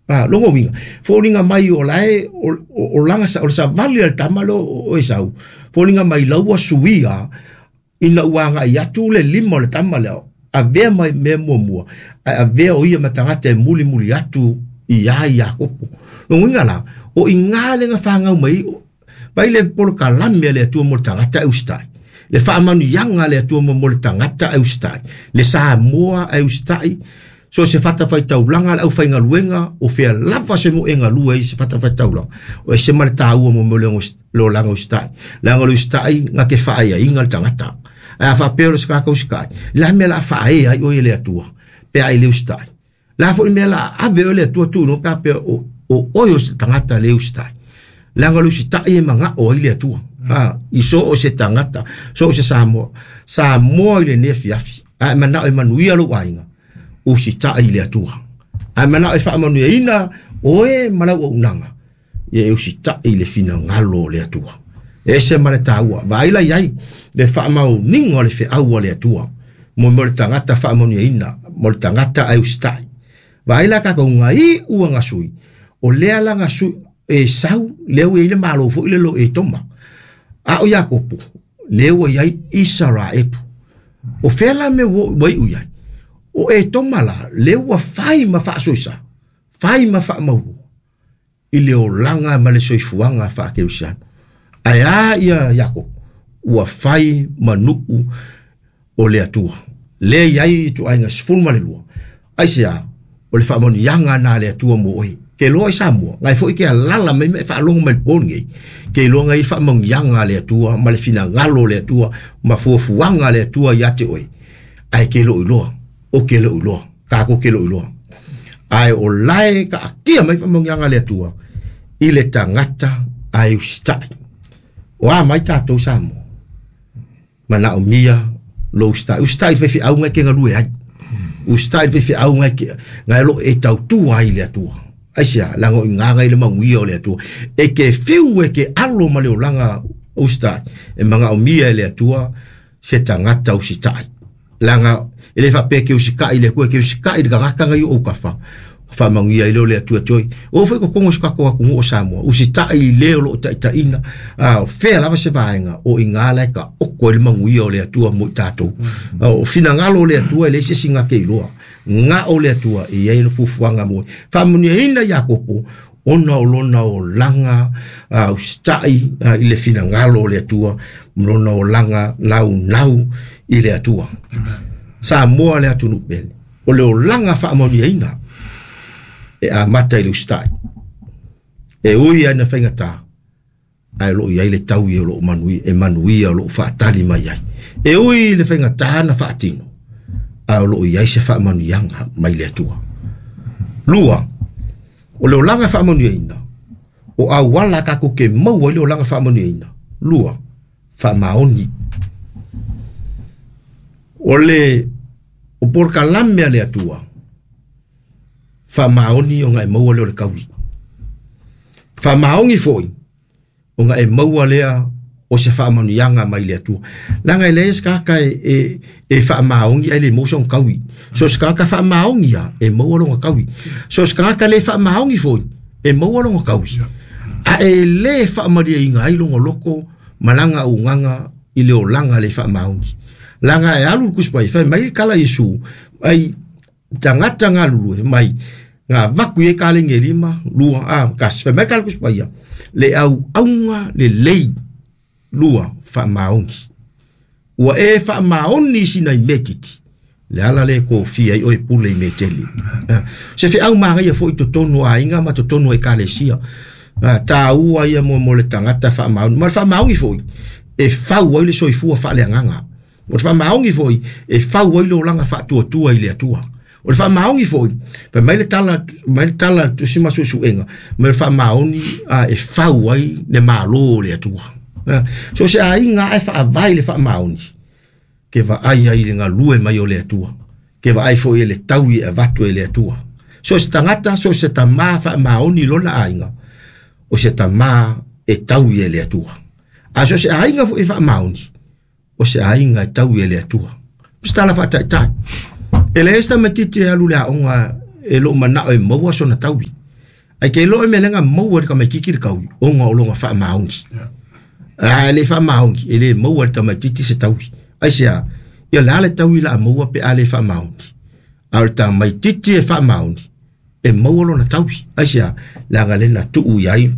A, lona uiga, foliga mai o la e o laga o le savali a le tama lea o Esau, foliga mai la ua suia ina ua agai atu le lima o le tama lea, avea mai mea muamua, ae avea o ia ma tagata e mulimuli atu iā Iakopo. Lona uiga la, o i ina lea na fanau mai ai le polokalame a le Atua mo le tagata e usitai, le faamanuiaga a le Atua mo le tagata e usitai, le Samoa e usitai, so o se fatafaitaulaga a le aufaigaluega, o fea lava se moe galue ai se fatafaitaulaga, o ese ma le taua mo mea o le olaga usitai. Leaga o le usitai na te faaaiaiga le tagata. Ae a faapea o le se tagata usitai, o le a le mea o le a faaea ai oe e le Atua pe a e le usitai? Le a foi le mea o le a ave oe le Atua tuu i luga pe a faapea o oe o se tagata le usitai? Leaga o le usitai e manao ai le Atua. I so o se tagata, so o se Samoa. Samoa i lenei afiafi, a e manao e manuia lou aiga, usitai i le Atua. A e manao e faamanuiaina oe ma lau auaunaga, ia e usitai i le finagalo o le Atua. E ese ma le taua. Vaai la i ai le faamaoniga o le feau a le Atua mo le tagata faamanuiaina, mo le tagata ae usitai. Vaai la tatou gaiu a gasui, o lea la gasui Esau, lea ua i ai le malo foi le lo Etoma. A o Iakopo, lea ua i ai Isaraelu. O fea la mea ua iu i ai? O Etoma la, lea ua fai ma faasoesa, fai ma faamaulua i le olaga ma le soifuaga faakerisiano. Ae a ia Iakopo, ua fai ma nuu o le Atua. Lea i ai ituaiga 12. Aisea? O le faamanuiaga na a le Atua mo oe. Ke iloa i Samoa, ngai foi ke alala mai ma e faalogo mai le po lenei, ke iloa ngai faamanuiaga a le Atua ma le finagalo o le Atua ma fuafuaga a le Atua ia te oe. Ae ke le o iloa, o ke le o iloa, tatou ke le o iloa. Ae o lae taatia mai faamanuiaga a le Atua i le tagata ae usitai. O a mai tatou Samoa? Manaomia lou usitai. Usitai i le faifeau ngai ke galue ai. Usitai i le faifeau ngai ke ngai lo e tautua ai i le Atua. Aisea, leaga o i ina ngai le manuia o le Atua. E ke fiu e ke alo ma le olaga usitai, e manaomia e le Atua se tagata usitai. Leaga e le faapea e ke usitai i le Atua, e ke usitai i le tagata ngai o autafa. Faamanuia ai lea o le Atua te oe. Oo foi i totonu o si o tatou atunuu o Samoa, usitai i le o lo o taitaiina, a o fea lava se vaega, o i ina la e taoto ai le manuia o le Atua mo i tatou. O finagalo o le Atua e leai se isi na te iloa. Na o le Atua e i ai le fuafuaga mo oe. Faamanuiaina Iakopo ona o lona olaga usitai i le finagalo o le Atua, ma lona olaga naunau i le Atua. Samoa le atunuu pele, o le olaga faamanuiaina e amata i le usitai. E ui lava ina faigata, ae o lo o i ai le taui o lo o manuia, e manuia o lo o faatali mai ai. E ui i le faigata na faatino, ae o lo o i ai se faamanuiaga mai le Atua. Lua, o le olaga faamanuiaina, o auala tatou te maua ai le olaga faamanuiaina. Lua, faamaoni. O le o polokalame a le Atua, faamaoni ona e maua lea o le taui. Faamaoni foi ona e maua lea o se faamanuiaga mai le Atua. Leaga e leai se tagata e faamaoni ae le maua sona taui. So o se tagata faamaoni lava e maua lona taui. So o se tagata le faamaoni foi e maua lona taui. A e le faamalieina ai lona loto ma lana auaunaga i le olaga le faamaoni. Leaga e alu le Tusi Paia, fai mai le tala a Iesu, ai tagata galulue mai na avatu i ai kaleni e lima, lua, a, tasi. Fai mai le tala Tusi Paia, le auauna lelei, lua, faamaoni. Ua e faamaoni i sina i mea itiiti, le ala lea e tofia ai oe e pule i mea tele. Se feau manaia foi i totonu o aiga ma totonu o ekalesia. Taua ia mo le tagata faamaoni. Ma le faamaoni foi, e fau ai le soifua faaleagaga. O le faamaoni foi, e fau ai le olaga faatuatua i le Atua. O le faamaoni foi, fai mai le tala, mai le tala a le Tusi ma Suesuega, mai le faamaoni e fau ai le Malo o le Atua. So se aiga e faavae i le faamaoni, ke vaai ai i le galue mai o le Atua, ke vaai foi e le taui e avatu e le Atua. So se tagata, so se tamā faamaoni i lona aiga, o se tamā e taui e le Atua. A so se aiga foi e faamaoni, o se aiga e taui e le Atua. O se tala faataitai. E leai se tamaitiiti e alu i le aoga e lou manao e maua sona taui. Ae ke iloa o le mea lea na maua e le tamaitiiti le taui, ona o lona faamaoni. A e le faamaoni, e le maua e le tamaitiiti se taui. Aisea? Ia o le a le taui o le a maua pe a le faamaoni? A o le tamaitiiti e faamaoni, e maua lona taui. Aisea? Leaga lea na tuu i ai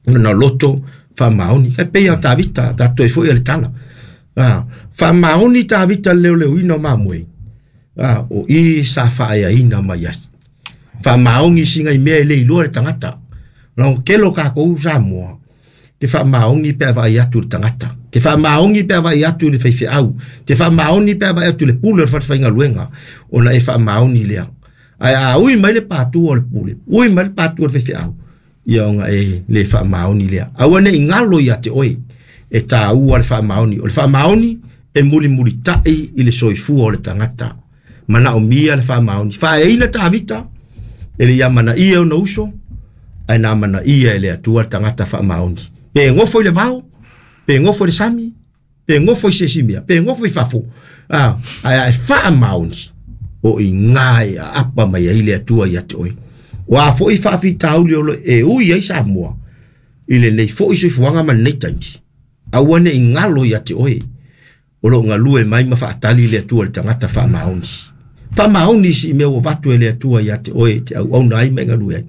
lona loto faamaoni. E pei o Tavita, tatou toe foi i le tala. A, faamaoni Tavita i le leoleoina o mamoe, a, o i sa faaeaina mai ai. Faamaoni sina i mea e le iloa e le tagata. Leaga tele o tatou Samoa, te faamaoni pe a vaai atu i le tagata. Te faamaoni pe a vaai atu i le faifeau. Te faamaoni pe a vaai atu i le pule o le falefaigaluega, ona e faamaoni lea. Ae a ui mai le patu o le pule, ui mai le patu o le faifeau, ia ona e le faamaoni lea. Aua ne i galo ia te oe, e taua le faamaoni. O le faamaoni e mulimulitai i le soifua o le tagata. Manaomia le faamaoni. Faaeaina Tavita, e le i amanaia e ona uso, ae na amanaia e le Atua le tagata faamaoni. Pe nofo i le vao, pe nofo i le sami, pe nofo i se isi mea, pe nofo i fafo, a, ae a e faamaoni, o i ina e aapa mai ai le Atua ia te oe. O a foi faafitauli o lo e ui ai Samoa i lenei foi soifuaga ma lenei taimi, aua ne i galo ia te oe, o lo o galue mai ma faatali le Atua i le tagata faamaoni. Faamaoni i si mea ua avatu e le Atua ia te oe e te auauna ai ma e galue ai.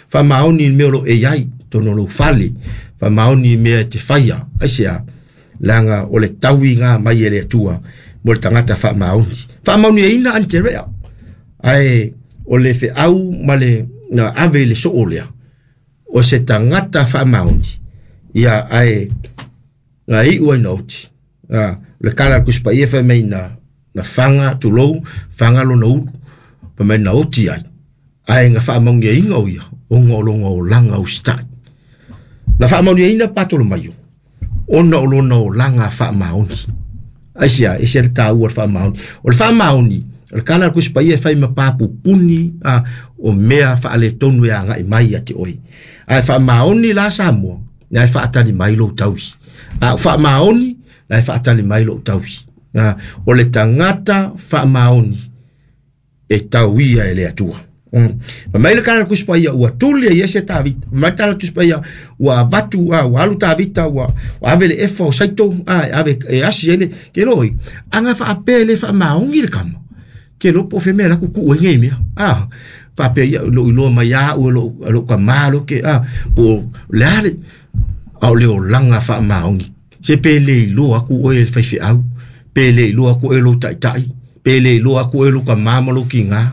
Faamaoni i le mea o lo o e i ai, totonu o lou fale. Faamaoni i mea e te faia. Aisea? Leaga o le tauiga mai e le Atua mo le tagata faamaoni. Faamaoniaina Aneterea, ae o le feau ma le na ave i le soo lea, o se tagata faamaoni, ia ae na iu ai na oti. A, o le tala a le Tusi Paia fai mai na, na faga, tulou, faga lona ulu, fai mai na oti ai, ae na faamaoniaina o ia, ona o lona olaga usitai. Na faamaoniaina Patolomaio, ona o lona olaga faamaoni. Aisea, ese le taua o le faamaoni. O le faamaoni, o le tala a le Tusi Paia e fai ma papupuni a, o mea faaletonu e agai mai ia te oe. Ae faamaoni la Samoa, la e faatali mai lou taui. A o faamaoni, la e faatali mai lou taui. A, o le tagata faamaoni e tauia e le Atua. Fai mai le tala a le Tusi Paia, ua tuli e Iese Tavita. Fai mai le tala a le Tusi Paia, ua avatu, a, ua alu Tavita, ua, ua ave le efa o Saito, a, e ave, e asi ai le, ke loi, aga faapea e le faamaoni le kama. Ke iloa po o fea mea la kukuʻu ai nei mea. A, faapea ia, lou iloa mai lava au e lou, e lou tama lo ke, a, po o le a le, a o le olaga faamaoni. Se pe le iloa atu oe e le faifeau, pe le iloa atu oe e lou taitai, pe le iloa atu oe e lou tama ma lou tiga,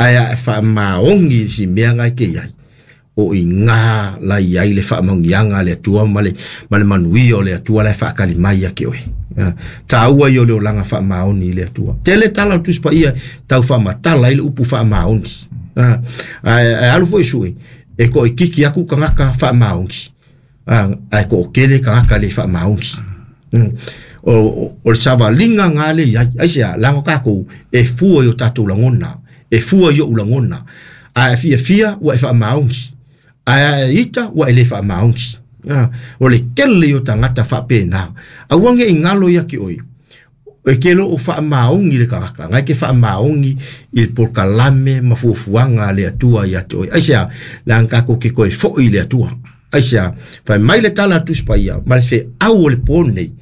ae a e faamaoni i si mea na e te i ai, o i ina la i ai le faamanuiaga a le Atua ma le, ma le manuia o le Atua la e faatali mai ia te oe. Taua ia o le olaga faamaoni i le Atua. Tele tala o le Tusi Paia tau faamatala ai le upu faamaoni. Ae, ae alu foi sue, e toaitiiti atu tagata faamaoni, ae toatele tagata le faamaoni. O, o, o le savaliga na le i ai. Aisea? Leaga tatou e fua i o tatou lagona, e fua i ou lagona. A e fiafia, ua e faamaoni. Ae a e ita, ua e le faamaoni. O le tele ia o tagata faapena. Aua ne i galo ia te oe, e te le o faamaoni le tagata, na e te faamaoni i le polokalame ma fuafuaga a le Atua ia te oe. Aisea? Leaga tatou te toe foi i le Atua. Aisea? Fai mai le tala a le Tusi Paia, ma le feau o le po lenei,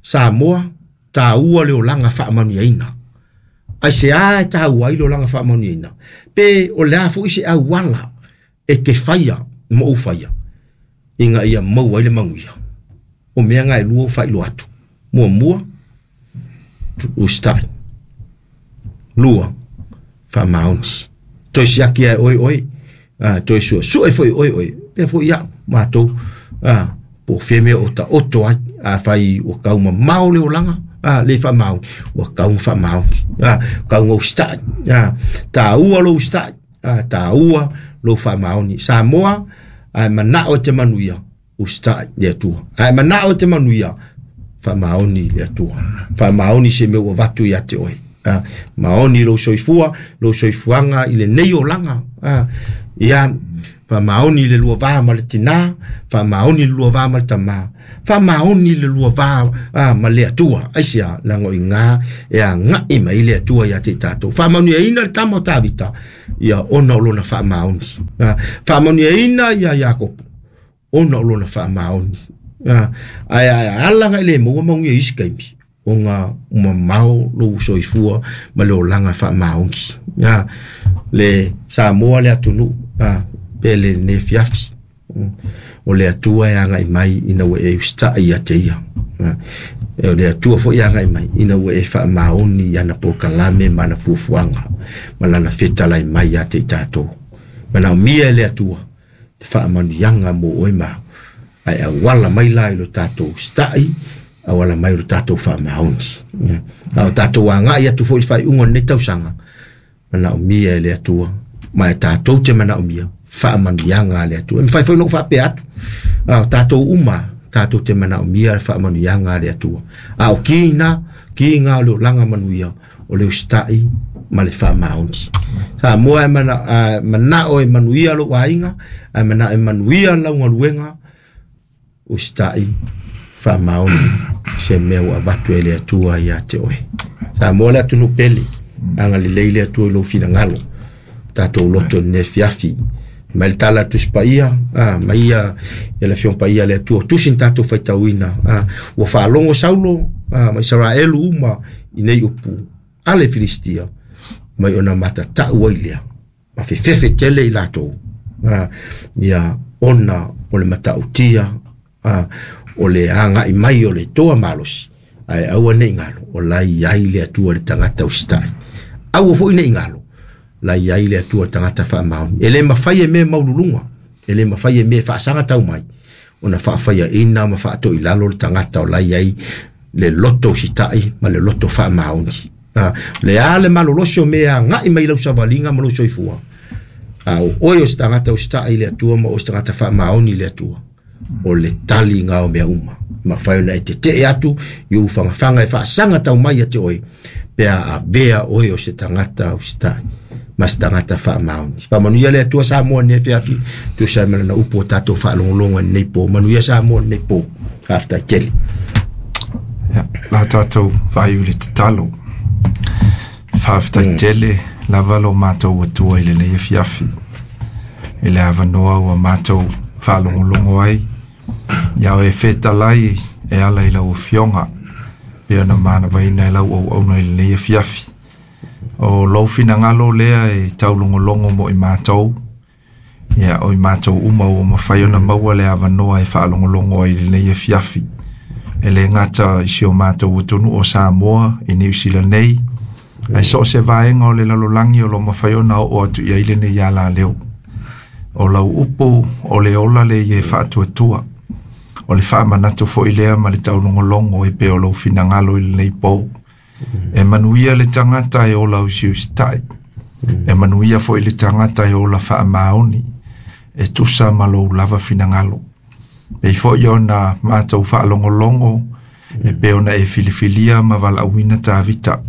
Samoa, taua le olaga faamanuiaina. Aisea e taua ai le olaga faamanuiaina? Pe o le a foi se auala e te faia ma ou faia ina ia maua ai le manuia? O mea na e lua ua faailoa atu. Muamua, usitai. Lua, faamaoni. Toe siaki lava e oe oe, a, toe suesue foi e oe oe, pea foi ia'u, matou, a, po o fea mea o taoto ai, afai ua tau mamao le olaga, a, le faamaoni, ua tatau ona faamaoni, a, tatau ona usitai, a, taua lou usitai, a, taua lou faamaoni. Samoa, a e manao e te manuia, usitai le Atua. A e manao e te manuia, faamaoni le Atua. Faamaoni se mea ua avatu ia te oe. A, maoni lou soifua, lou soifuaga i lenei olaga. A, ia, Faamaoni i le lua va ma le tinā, faamaoni i le lua va ma le tamā, faamaoni i le lua va ma le Atua. Aisea? Leaga o i ina e agai mai ai le Atua ia te i tatou. Faamanuiaina le tama o Tavita, ia ona o lona faamaoni. Faamanuiaina ia Iakopo, ona o lona faamaoni. Ae ala ona e le maua manuia i isi taimi, ona mamao lou soifua ma le olaga faamaoni. Le Samoa le atunuu pe lenei afiafi, o le Atua e agai mai ina ua e usitai ia te ia. O le Atua foi e agai mai ina ua e faamaoni i ana polokalame ma ana fuafuaga ma lana fetalai mai ia te i tatou. Manaomia e le Atua le faamanuiaga mo oe ma au, ae auala mai la i lo tatou usitai, auala mai i lo tatou faamaoni. A o tatou agai atu foi i le faaiuga o lenei tausaga, manaomia e le Atua, ma e tatou te manaomia faamanuiaga a le Atua. E mafai foi ona ou faapea atu, a o tatou uma, tatou te manaomia le faamanuiaga a le Atua. A o ki na, ki ngā o le olaga manuia, o le usitai ma le faamaoni. Samoa e manao e manuia lou aiga, ae manao e manuia lau galuega, usitai, faamaoni se mea ua avatu e le Atua ia te oe. Samoa le atunuu pele, agalelei le Atua i lou finagalo, tatou loto i lenei afiafi. Mai le tala a le Tusi Paia, mai ia le Afioga Paia a le Atua, tusi na tatou faitauina, ua faalogo Saulo ma Isaraelu uma i nei upu a le Filistia, mai ona matatau ai lea, ma fefefe tele i latou, ia ona o le matautia, o le agai mai o le toa malosi, ae aua ne i galo, o la e i ai le Atua i le tagata usitai. Aua foi ne i galo, la e i ai le Atua i le tagata faamaoni. E le mafai e mea maualuluga, e le mafai e mea faasaga tau mai, ona faafaiaina ma faatoilalo le tagata o la e i ai le loto usitai ma le loto faamaoni. Le a le malolosi o mea e agai mai i lau savaliga ma lou soifua, a o oe o se tagata usitai i le Atua ma o se tagata faamaoni i le Atua, o le tali ngā o mea uma. Mafai ona e tetee atu i ou fagafaga e faasaga tau mai ia te oe, pe a avea oe o se tagata usitai ma se tagata faamaoni. Faamanuia le Atua Samoa i lenei afiafi, tusa ai ma lana upu o tatou faalogologo i lenei po. Manuia Samoa i lenei po. Faafetai tele. Ia, la tatou vaiu i le tatalo. Faafetai tele lava lo matou Atua i lenei afiafi, i le avanoa ua matou faalogologo ai, ia oe fetalai e ala i lau Afioga, pei ona manavaina e lau auauna i lenei afiafi. O lou finagalo lea e taulogologo mo i matou, ia o i matou uma ua mafai ona maua le avanoa e faalogologo ai i lenei afiafi. E le gata i si o matou atunuu o Samoa, i Niu Sila nei, ae so o se vaega o le lalolagi o lo o mafai ona oo atu i ai lenei alaleo. O lau upu o le ola le ia e faatuatua. O le faamanatu foi lea ma le taulogologo e pei o lou finagalo i lenei po. E manuia le tagata e ola usiusitai. E manuia foi le tagata e ola faamaoni, e tusa ma lou lava finagalo. Pei foi ona matou faalogologo e pei ona e filifilia ma valaauina Tavita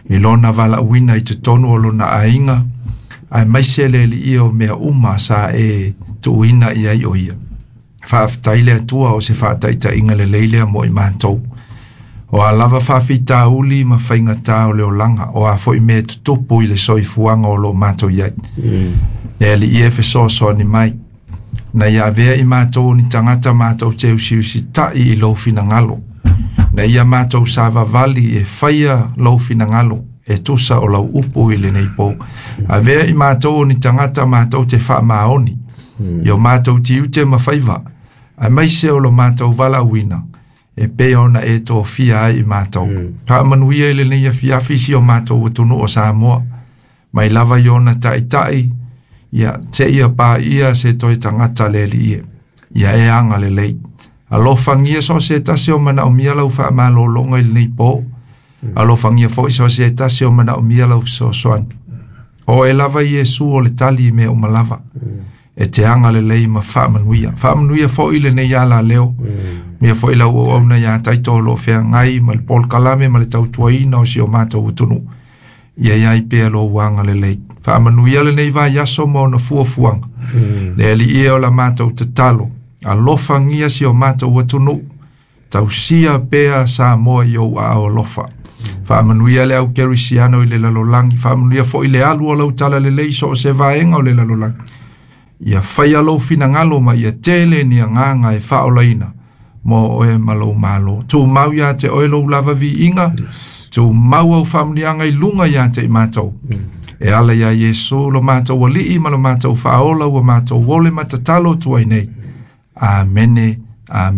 i lona valaauina i totonu o lona aiga, aemaise le Alii o mea uma sa e tuuina i ai o ia. Faafetai le Atua o se faataitaiga lelei lea mo i matou. O a lava faafitauli ma faigata o le olaga, o a foi mea e tutupu i le soifuaga o lo o matou i ai. Le Alii e fesoasoani mai, na ia avea i matou o ni tagata matou te usiusitai i lou finagalo, na ia matou savavali e faia lou finagalo e tusa o lau upu i lenei po. Avea i matou o ni tagata matou te faamaoni i o matou tiute ma faiva, aemaise o lo matou valaauina, e pei ona e tofia ai i matou. Faamanuia i lenei afiafi si o matou atunuu o Samoa, mai lava i ona taitai, ia seia paia se toe tagata le Alii e, ia e agalelei. Alofagia so o se tasi o manaomia lau faamalologa i lenei po. Alofagia foi so o se tasi o manaomia lau fesoasoani. O oe lava Iesu o le tali i mea uma lava. E te agalelei ma faamanuia. Faamanuia foi lenei alaleo. Manuia foi lau auauna ia Taito o lo o feagai ma le polokalame ma le tautuaina o si o matou atunuu. Ia i ai pea lou agalelei. Faamanuia lenei vaiaso ma ona fuafuaga. Le Alii e o la matou tatalo, alofagia si o matou atunuu, tausia pea Samoa i ou aao alofa. Faamanuia le au kerisiano i le lalolagi, faamanuia foi le alu o lau talalelei so o se vaega o le lalolagi. Ia faia lou finagalo ma ia tele ni agaga e faaolaina mo oe ma lou malo. Tumau ia te oe lou lava viiga, tumau au faamanuiaga i luga ia te i matou. E ala ia Iesu lo matou alii ma lo matou faaola ua matou ole ma tatalo atu ai nei. Amene, amene.